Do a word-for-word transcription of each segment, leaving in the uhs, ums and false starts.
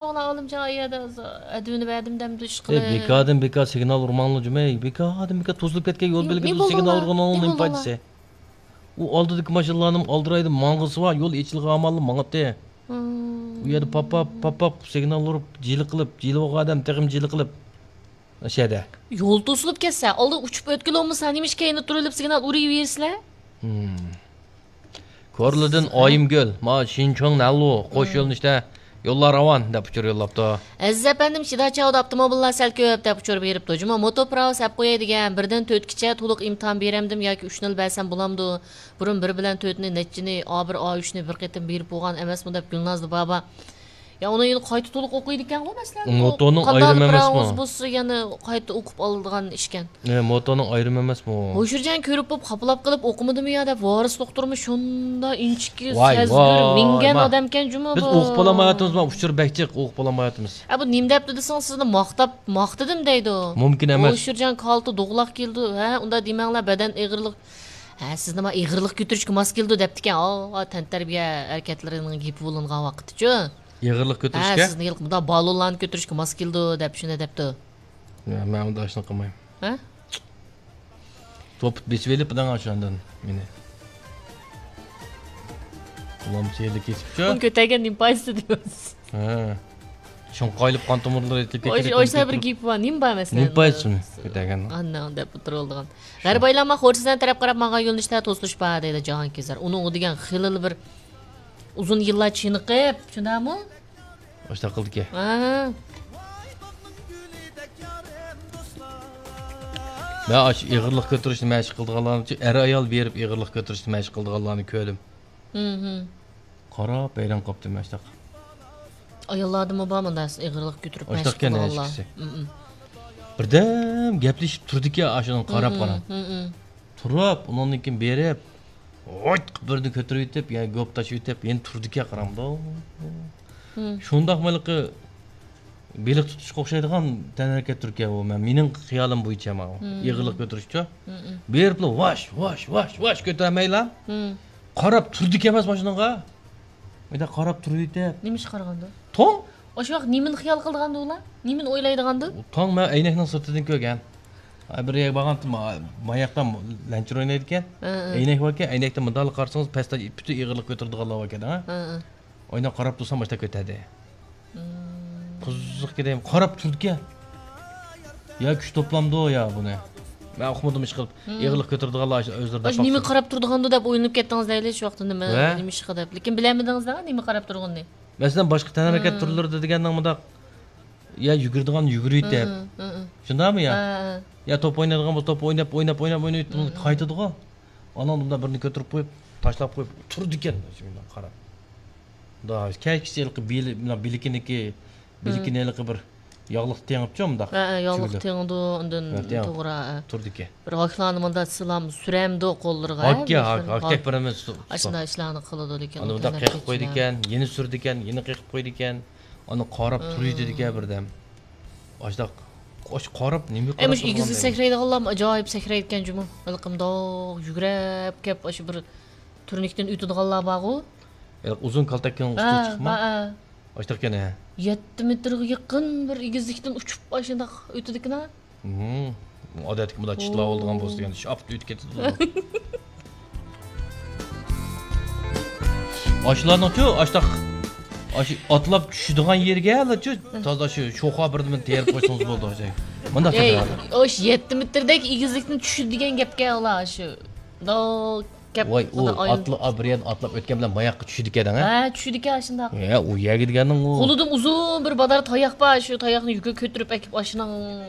ئوغلان ئالىمجان ئايەدە ئەدۋىنى بەردىم دەمدۇ ئىش ئەي، قىلىپ. بىكاردىن بىكار سىگنال ئۇرماڭلار جۇمەي. بىكاردىن بىكار توسۇلۇپ كەتكەن يول نېمە بەلگىلىدۇ سىگنال بولدۇڭلار؟ ئۇرغىنىڭ نېمە نېمە بولدۇڭلار؟ پايدىسى؟ ئۇ ئالدىدىكى ماشىنىلارنىڭ ئالدىرايدا ماڭغۇسى بار، يول ئېچىلغان ئاماللا ماڭاتتى. ئۇ يەردە پاپ پاپ پاپ پاپ سىگنال ئۇرۇپ جىلىقىلىپ، جىلىۋالغان ئادەم تېخىمۇ جىلىقىلىپ. ئاشۇ يەردە. يول توسۇلۇپ كەتسە، ئالدىن ئۇچۇپ ئۆتكىلى بولمىسا، نېمىشقا كەينىدە تۇرۇۋېلىپ سىگنال ئۇرۇۋېرىسىلەر؟ ھىم. كورلىدىن ئايىمگۈل، ما شىنچۇڭ نەنلۇ قوش يۆنىلىشتە يوللار راۋان دەپ ئۇچۇر يوللاپتۇ. ئەزىز ئەپەندىم، شىداچاۋدا ئاپتوموبىللار سەل كۆپ دەپ ئۇچۇر بېرىپتۇ. جۇمۇ موتور پىراۋىسى ئەپ قوياي دېگەن، بىردىن تۆتكىچە تولۇق ئىمتىھان بېرەمدىم ياكى ئۈچنىلا بەرسەم بولامدۇ؟ بۇرۇن بىر بىلەن تۆتنى، نەچچىنى، ئا بىر، ئا ئۈچنى بىر قېتىم بېرىپ بولغان ئەمەسمۇ دەپ گۈلنازدا بابا. يا، ئۇنى يەنە قايتا تولۇق ئوقۇيدىكەنغۇ، مەسىلەن، مۇتونىڭ قانداق ئايرىمى بىر ئەمەسمۇ؟ ئاۋاز بولسا، يەنە قايتا ئوقۇپ ئالىدىغان ئىشكەن. ئە، مۇتونىڭ ئايرىمى ئەمەسمۇ؟ ھوشۇرجان كۆرۈپ بوپ خاپىلاپ قېلىپ ئوقۇمىدىمۇ يا دەپ، ۋارىس دوختۇرمۇ شۇنداق ئىنچىكە، ۋاي، سەزگۈر، ۋاي، مىنگەن ما. ئادەمكەن جۇمۇ بۇ. بىز ئوقۇپ بولالمايۋاتىمىز، ما، ئۇچۇر بەك جىق، ئوقۇپ بولالمايۋاتىمىز. ئە، بۇ نېمە دەپتۇ دېسىڭىز، سىزنى ماختاپ، ماختىدىم دەيدۇ. مۇمكىن ئەمەس. ھوشۇرجان كالتە دوغلاق كېلىدۇ، ھە، ئۇنداق دېمەڭلار، بەدەن ئېغىرلىق. ھە، سىزنى ما ئېغىرلىق كۆتۈرۈشكە ماس كېلىدۇ دەپتىكەن. ئا، تەنتەربىيە ھەرىكەتلىرىنىڭ گېپى بولۇنغان ۋاقىتتىچۇ. ئېغىرلىق ھە، كۆتۈرۈشكە؟ سىزنى يىلقى مۇنداق بالونلارنى كۆتۈرۈشكە ماس كېلىدۇ دەپ شۇنى دەپتۇ. يا، مەن ئۇنداق ئىشنى قىلمايمەن. ھە؟ توپۇت بېسىۋېلىپ دەڭ ئاشۇ ئاندىن مېنى. ئۇلام سېيىللىك كېسىپچۇ. ئۇنى كۆتەرگەن نېمە پايدىسى دەيمىز. ھە. شۇڭقايلىپ قان تومۇرلىرى ئېتىلىپ كەتكەن. ئاشۇ بىر گېپى بار. نېمە بار مەسىلەن؟ نېمە پايدىسى ئۇنى كۆتەرگەن؟ ئاننىڭ دەپ ئولتۇرۇۋالىدىغان. غەربىي ئايلانما خورىسىزەن تەرەپ قاراپ ماڭغان يۆنىلىشتە توسۇلۇش بار دەيدۇ جاھانكېزەر. ئۇنىڭ ئۇ دېگەن خېلىلا بىر ئۇزۇن يىللار چېنىقىپ، شۇنداقمۇ؟ ئاشۇنداق قىلدىكەن. ھە. مەن ئاشۇ ئېغىرلىق كۆتۈرۈشنى مەشىق قىلىدىغانلارنى، ئەر-ئايال بېرىپ ئېغىرلىق كۆتۈرۈشنى مەشىق قىلىدىغانلارنى كۆردۈم. ھىم، ھىم. قاراپ ھەيران قاپتىمەن ئاشۇنداق. ئاياللاردىمۇ بار مۇنداق ئېغىرلىق كۆتۈرۈپ مەشىق قىلىدىغانلار. ئاشۇنداقكەن ھەشكىسى. ھىم، ھىم. بىردەم گەپلىشىپ تۇردىكەن ئاشۇنىڭغا قاراپ، قاراپ. ھىم، ھىم. تۇرۇپ، ئۇنىڭدىن كېيىن بېرىپ، ھويت قىلىپ بىرنى كۆتۈرۈۋېتىپ، يەنە گوپ تاشلىۋېتىپ، يەنە تۇردىكەن قاراڭدا. ھىم. شۇنداقمۇ ھېلىقى بېلىق تۇتۇشقا ئوخشايدىغان تەنھەرىكەت تۈركە بۇ. مەن، مېنىڭ خىيالىم بويىچە ماۋۇ. ھىم. ئېغىرلىق كۆتۈرۈشچۇ. ھىم، ھىم. بېرىپلا ۋاش، ۋاش، ۋاش، ۋاش كۆتۈرمەيلا. ھىم. قاراپ تۇردىكەن ئەمەس ماشىنىغا. مۇنداق قاراپ تۇرۇۋېتىپ. نېمە ئىشقا قارىغاندۇ؟ توڭ. ئاشۇ ۋاقىت نېمىنى خىيال قىلىدىغاندۇ ئۇلار؟ نېمىنى ئويلايدىغاندۇ؟ توڭ، مەن ئەينەكنىڭ سىرتىدىن كۆرگەن. ئا، بىر يەرگە بارغانتىم، ما-، ماياقتا لەنچىر ئوينايدىكەن. ھە، ھە. ئەينەك باركەن، ئەينەكتىن مۇنداقلا قارىسىڭىز، پەستە پۈتۈن ئېغىرلىق كۆتۈرىدىغانلار باركەن، ھە؟ ھە، ھە. ئويناپ قاراپ تۇرسام، ئاشتا كۆتەردى. مم. قىزىق كېدەم، قاراپ تۇردىكەن. يا كۈچ توپلامدۇ يا بۇنى. مەن ئۇقمىدىم ئىشقىلىپ. مم. ئېغىرلىق كۆتۈرىدىغانلار ئۆزلىرى دەپ باقسۇن. نېمە قارار تۇرىدىغاندۇ دەپ ئويلىنىپ كەتتىڭىز دەيلى شۇ ۋاقىتتا نېمە، ۋە؟ نېمە ئىشقا دەپ. لېكىن بىلەلمىدىڭىز دەڭ نېمە قاراپ تۇرغىنىنى. مەسىلەن، باشقا تەنھەرىكەت مم. تۈرلىرىدە دېگەننىڭ مۇنداق، يا يۈگۈرىدىغان يۈگۈرۈۋېتىپ. مم، مم، مم. شۇنداقمۇ يا؟ ھە، ھە. يا توپ ئوينايدىغان بولسا توپ ئويناپ، ئويناپ، ئويناپ، ئويناپ، مم، مم. قايتىدىغۇ. ئانان بۇنداق بىرنى كۆتۈرۈپ قويۇپ، تاشلاپ قويۇپ تۇرىدىكەن، شۇنداق قاراپ. مۇنداق كەچكىچە ھېلىقى بىلى-، مۇنداق بىلىكىنىكى، بىلىكىنى ھېلىقى بىر ياغلىق تېڭىپچۇ مۇنداق. ھە، ھە، ياغلىق تېڭىدۇ، ئاندىن ھە، تېڭىپ. توغرا، ھە. تۇرىدىكەن. بىر ھاكلارنى مۇنداق سىلام سۈرەمدۇ قوللىرىغا، ھە، ھاك، ھاك، ھاك تەك بېرىمىز. ئاشۇنداق ئىشلارنى قىلىدۇ لېكىن ئۇ ئاندىن بۇنداق قېقىپ قويىدىكەن، يەنە سۈرىدىكەن، يەنە قېقىپ قويىدىكەن. ئاندىن قاراپ تۇرۇۋېتىدىكەن بىردەم. ئاشۇنداق، ئاشۇ قاراپ نېمە ئەي، قاراپ مۇشۇ ئېگىزگە سەكرەيدىغانلارمۇ ئاجايىپ سەكرەيدىكەن جۇمۇ. ھېلىقى مۇنداق يۈگرەپ كەپ، ئاشۇ بىر تۈرنىكتىن ئۆتىدىغانلار بارغۇ. ھېلىقى ئۇزۇن كالتەككىنىڭ ئۈستىگە ھە، چىقىپمۇ؟ ھە، ھە. ئاشۇنداقكەن ھە. يەتتە مېتىرغا يېقىن بىر ئېگىزلىكتىن ئۇچۇپ ئاشۇنداق ئۆتىدىكىنا. ھىم. ئادەتتىكى مۇنداق چىتلاۋالىدىغان بولسا دېگەن، شاپتۇ ئۆتۈپ كېتىدۇ. ئاشۇلارنىڭچۇ، ئاشتاق، ئاشۇ ئاتلاپ چۈشىدىغان يېرىگە ئەلەچۇ، تازا شۇ شوخا بىردىمىنى تېرىپ قويسىڭىز بولىدۇ، ئاشۇ. مۇنداق ئەي، ئاشۇ يەتتە مېتىردەك ئېگىزلىكتىن چۈشىدۇ دېگەن گەپكەن ئۇلار، ئاشۇ. مۇنداق گەپ ۋاي، ئۇ ئاتلا-، بىر يەردىن ئاتلاپ ئۆتكەن بىلەن ماياققا چۈشىدىكەن دەڭ، ھە؟ ھە، چۈشىدىكەن ئاشۇنداق. يا، ئۇ يەرگە دېگەننىڭ ئۇ. قولىدا ئۇزۇن بىر بادار تاياق بار، شۇ تاياقنى يۈكى كۆتۈرۈپ ئەكىپ ئاشۇنىڭ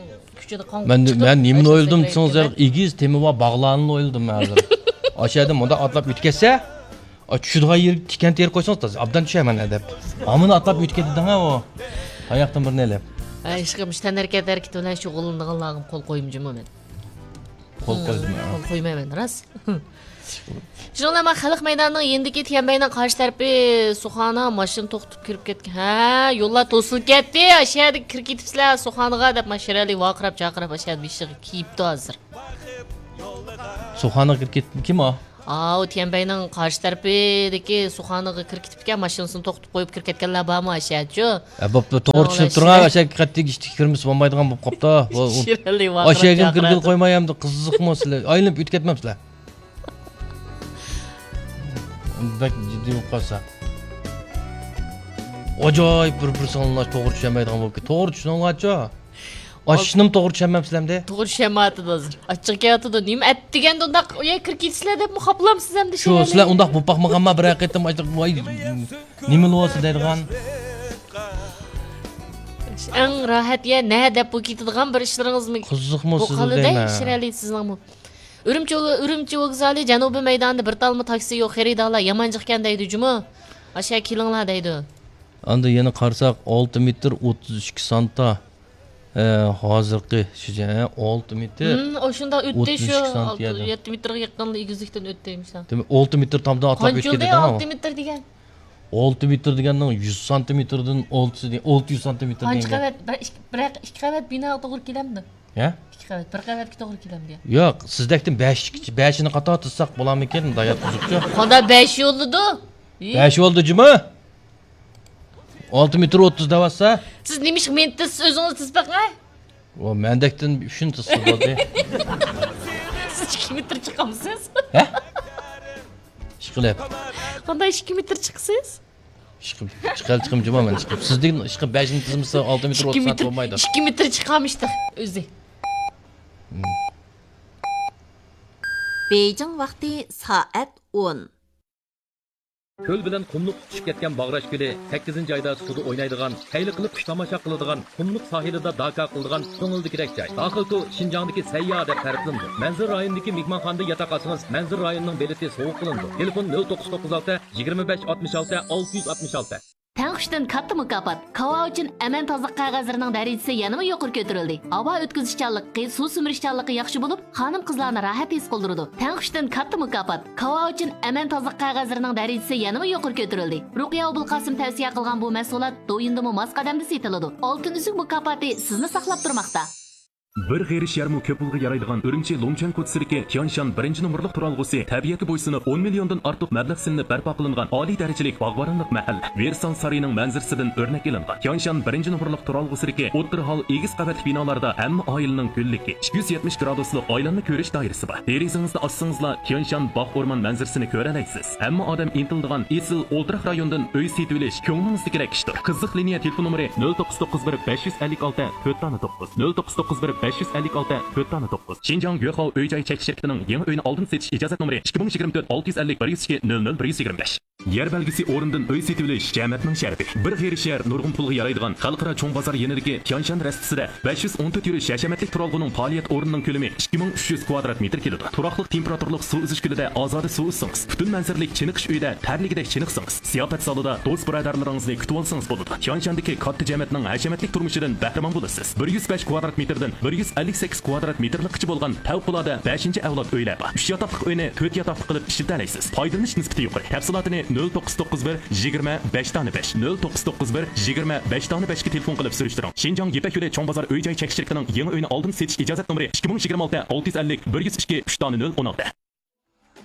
كۈچىدە قان مەن، چىقىپ، مەن نېمىنى ئويلىدىم دېسىڭىز، ئېگىز تېمى بار باغلارنى ئويلىدىم مەن ھازىر. ئاشۇ يەردىن مۇنداق ئاتلاپ ئۆتۈپ كەتسە، ئا، چۈشىدىغان يېرىگە تىكەن تېرىپ قويسىڭىز، تازا ئابدان چۈشەرمەن دەپ. ئامىنى ئاتلاپ ئۆتۈپ كەتتى دەڭ ھە ئۇ. تاياقتىن بىرنى ئېلىپ. ھە، ئىشقىلىپ، مۇشۇ تەنھەرىكەت ھەرىكىتى بىلەن شۇغۇللىنىدىغانلارغا قول قويۇم جۇمۇ مەن. قول قويدۇم، ھە. قول قويمايمەن، راست. شۇنىڭ بىلەن مانا خەلق مەيدانىنىڭ يېنىدىكى تيەنبەينىڭ قارشى تەرىپى سۇخانا ماشىنا توختىتىپ كىرىپ كەتكەن. ھە، يوللار توسۇلۇپ كەتتى، ئاشۇ يەردە كىرىپ كېتىپسىلەر سۇخانىغا دەپ، مانا شىرئەلى ۋارقىراپ، جارقىراپ، ئاشۇ يەردە بېشىغا كىيىپتۇ ھازىر. سۇخانىغا كىرىپ كەتتى. كىم ئۇ؟ ئاۋۇ تيەنبەينىڭ قارشى تەرىپىدىكى سۇخانىغا كىرىپ كېتىپتىكەن، ماشىنىسىنى توختىتىپ قويۇپ كىرىپ كەتكەنلەر بارمۇ ئاشۇ يەرچۇ؟ ھە، بوپتۇ، توغرا چۈشىنىپ تۇرۇڭ، ئاشۇ قەتئىي ئىشتىكى كىرمىسە بولمايدىغان بولۇپ قاپتۇ. ئاشۇ يەرگە كىرگىلى قويماي ئەمدى، قىزىقمۇ سىلەر؟ ئايلىنىپ ئۆتۈپ كەتمەمسىلەر؟ بەك جىددىي بولۇپ قالسا. ئاجايىپ بىر-بىرسىنى ئاڭلاش، توغرا چۈشەنمەيدىغان بولۇپ كېتىپتۇ. توغرا چۈشىنىڭلارچۇ؟ ئاشۇنىمۇ توغرا چۈشەنمەمسىلەر ئەمدى؟ توغرا چۈشەنمەيۋاتىدۇ ھازىر. ئاچچىقى كېلىۋاتىدۇ. نېمە ئەت دېگەندە ئۇنداق ئۇ يەرگە كىرىپ كېتىسىلەر دەپمۇ خاپىلامسىز ئەمدى؟ شۇ، سىلەر ئۇنداق بولۇپ باقمىغانما بىرەر قېتىم؟ ۋاي، نېمە بولۇۋاتسا دەيدىغان. ئەڭ راھەت يەر نە دەپ بولۇپ كېتىدىغان بىر ئىشلىرىڭىزمۇ قىزىقمۇ سىزنىڭ دەيمەن. ئۈرۈمچى، ئۈرۈمچى ۋوگزالى جەنۇبىي مەيدانىدا بىر تالما تاكسى يوق، خېرىدارلار يامان جىقكەن دەيدۇ جۇمۇ. ئاشۇ يەرگە كېلىڭلار دەيدۇ. ئاندىن يەنە قارىساق، ئالتە مېتىر ئوتتۇز ئىككى سانتا. ھە، ھازىرقى شۇ جاي، ھە، ئالتە مېتىر. ھىم، ئۇ شۇنداق ئۆتتى، ئوتتۇز ئىككى شۇ سانتىيەردە. يەتتە مېتىرغا يېقىنلا ئېگىزلىكتىن ئۆتتى، مۇشۇنداق. دېمەك، ئالتە مېتىر تامدا ئاتاپ ئۆتۈپ كەتتى، ئالتە مېتىر دېگەن. ئالتە مېتىر دېگەننىڭ يۈز سانتىمېتىردىن ئالتىسى دېگەن، ئالتە يۈز سانتىمېتىر قانچە دېگەن گەپ. قەۋەت؟ بىر ئىككى، بىر ئىككى قەۋەت بىنا توغرا كېلەمدۇ؟ ھە؟ ئىككى قەۋەت، بىر قەۋەتكە توغرا كېلەمدۇ يا؟ يوق، سىزدەكتىن بەش، بەشىنى قاتار تىزساق بولامىكىن، مۇنداق ياتقۇزۇپچۇ. قانداق بەش يوللىدۇ؟ بەش يولدى جۇمۇ. ئالتە مېتىر ئوتتۇز دەۋاتسا. سىز نېمىشقا مېنى تىزسىز، ئۆزىڭىز تىزىپ بېقىڭ. ئۇ مەندەكتىن ئۈچنى تىزسا بولدى. سىز ئىككى مېتىر چىقامسىز؟ ھە؟ ئىشقىلىپ. قانداق ئىككى مېتىر چىقىسىز؟ ئىشقىلىپ، چىقار چىقىم جۇمۇ مەن ئىشقىلىپ. سىزدىن ئىشقىلىپ بەشنى تىزمىسا ئالتە مېتىر ئوتتۇز سانتى بولمايدۇ. ئىككى مېتىر چىقامىشتى ئۆزى. ھىم. بېيجىڭ ۋاقتى سائەت ئون. كۆل بىلەن قۇملۇق تۇتىشىپ كەتكەن باغراش كۆلى سەككىزىنچى ئايدا سۇدا ئوينايدىغان، خەيلى قىلىپ قۇش تاماشا قىلىدىغان، قۇملۇق ساھىلىدا داكا قىلىدىغان كۆڭۈلدىكىدەك جاي. داخىلتۇ شىنجاڭدىكى سەيياھ دەپ تەرىپلىنىدۇ. مەنزىرە رايونىدىكى مېھمانخانىدا ياتاق ئالسىڭىز، مەنزىرە رايونىنىڭ بېلىتى سوۋغا قىلىنىدۇ. تېلېفون: نۆل توققۇز توققۇز ئالتە، يىگىرمە بەش، ئاتمىش ئالتە، ئالتە يۈز ئاتمىش ئالتە. تەڭ ئۈچتىن كاتتا مۇكاپات. كاۋا ئۈچۈن ئەمەن تازىلىق قەغەزلىرىنىڭ دەرىجىسى يەنىمۇ يۇقىرى كۆتۈرۈلدى. ھاۋا ئۆتكۈزۈشچانلىقى، سۇ سۈمۈرۈشچانلىقى ياخشى بولۇپ، خانىم-قىزلارنى راھەت ھېس قىلدۇرىدۇ. تەڭ ئۈچتىن كاتتا مۇكاپات. كاۋا ئۈچۈن ئەمەن تازىلىق قەغەزلىرىنىڭ دەرىجىسى يەنىمۇ يۇقىرى كۆتۈرۈلدى. رۇقىيە ئوبۇلقاسىم تەۋسىيە قىلغان بۇ مەھسۇلات دويىندىمۇ ماس قەدەمدە سېتىلىدۇ. ئالتۇن ئۈزۈك مۇكاپاتى سىزنى ساقلاپ تۇرماقتا. بىر غېرىش يەرمۇ كۆپ پۇلغا يارايدىغان ئۈرۈمچى لۇڭچۈەن كوچىسىدىكى تيانشان بىرىنچى نومۇرلۇق تۇرالغۇسى تەبىئەتكە بويسۇنۇپ، ئون مىليوندىن ئارتۇق مەبلەغ سېلىنىپ بەرپا قىلىنغان ئالىي دەرىجىلىك باغۋەنلىك مەھەللە، ۋېرسال سارىيىنىڭ مەنزىرىسىدىن ئۆرنەك ئېلىنغان. تيانشان بىرىنچى نومۇرلۇق تۇرالغۇسىدىكى ئوتتۇرا ھال ئېگىز قەۋەتلىك بىنالاردا ھەممە ئائىلىنىڭ گۈللۈكى، ئىككى يۈز يەتمىش گرادۇسلۇق ئايلانما كۆرۈش دائىرىسى بار. دېرىزىڭىزنى ئاچسىڭىزلا، تيانشان باغ ئورمان مەنزىرىسىنى كۆرەلەيسىز. ھەممە ئادەم ئىنتىلىدىغان ئېسىل ئولتۇراق رايوندىن ئۆي سېتىۋېلىش كۆڭلىڭىزدىكىدەك ئىشتۇر. قىزىق لىنىيە تېلېفون نومۇرى: نۆل توققۇز توققۇز بىر، بەش يۈز ئەللىك ئالتە، تۆت دانە توققۇز، نۆل توققۇز توققۇز بىر، بەش يۈز ئەللىك ئالتە، تۆت دانە توققۇز. شىنجاڭ گۆخاۋ ئۆي جاي چەكلىك شىركىتىنىڭ يېڭى ئۆينى ئالدىن سېتىش ئىجازەت نومۇرى ئىككى مىڭ يىگىرمە تۆت، ئالتە يۈز ئەللىك، بىر يۈز ئىككى، نۆل نۆل، بىر يۈز يىگىرمە بەش. يەر بەلگىسى ئورنىدىن ئۆي سېتىۋېلىش جەمەتنىڭ شەرىپى. بىر غېرىش يەر نۇرغۇن پۇلغا يارايدىغان خەلقئارا چوڭ بازار يېنىدىكى تيانشان رەستىسىدە بەش يۈز ئون تۆت يۈرۈش ھەشەمەتلىك تۇرالغۇنىڭ پائالىيەت ئورنىنىڭ كۆلىمى ئىككى مىڭ ئۈچ يۈز كۋادرات مېتىر كېلىدۇ. تۇراقلىق تېمپېراتۇرىلىق سۇ ئۈزۈش كۆلىدە ئازادە سۇ ئۈزسىڭىز، پۈتۈن مەنزىرىلىك چېنىقىش ئۆيىدە تەرلىگۈدەك چېنىقسىڭىز، زىياپەت زالىدا دوست-بۇرادەرلىرىڭىزنى كۈتۈۋالسىڭىز بولىدۇ. تيانشاندىكى كاتتا جەمەتنىڭ ھەشەمەتلىك تۇرمۇشىدىن بەھرىمەن بولىسىز. بىر يۈز بەش كۋادرات مېتىردىن بىر يۈز ئەللىك سەككىز كۋادرات مېتىرلىققىچە بولغان پەۋقۇلئاددە بەشىنچى ئەۋلاد ئۆيلەر بار. ئۈچ ياتاقلىق ئۆينى تۆت ياتاقلىق قىلىپ ئىشلىتەلەيسىز. پايدىلىنىش نىسبىتى يۇقىرى. تەپسىلاتىنى نۆل توققۇز توققۇز بىر، يىگىرمە، بەش دانە بەش، نۆل توققۇز توققۇز بىر، يىگىرمە، بەش دانە بەشكە تېلېفون قىلىپ سۈرۈشتۈرۈڭ. شىنجاڭ يىپەك يولى چوڭ بازار ئۆي جاي چەكلىك شىركىتىنىڭ يېڭى ئۆينى ئالدىن سېتىش ئىجازەت نومۇرى ئىككى مىڭ يىگىرمە ئالتە، ئالتە يۈز ئەللىك، بىر يۈز ئىككى، ئۈچ دانە نۆل، ئون ئالتە.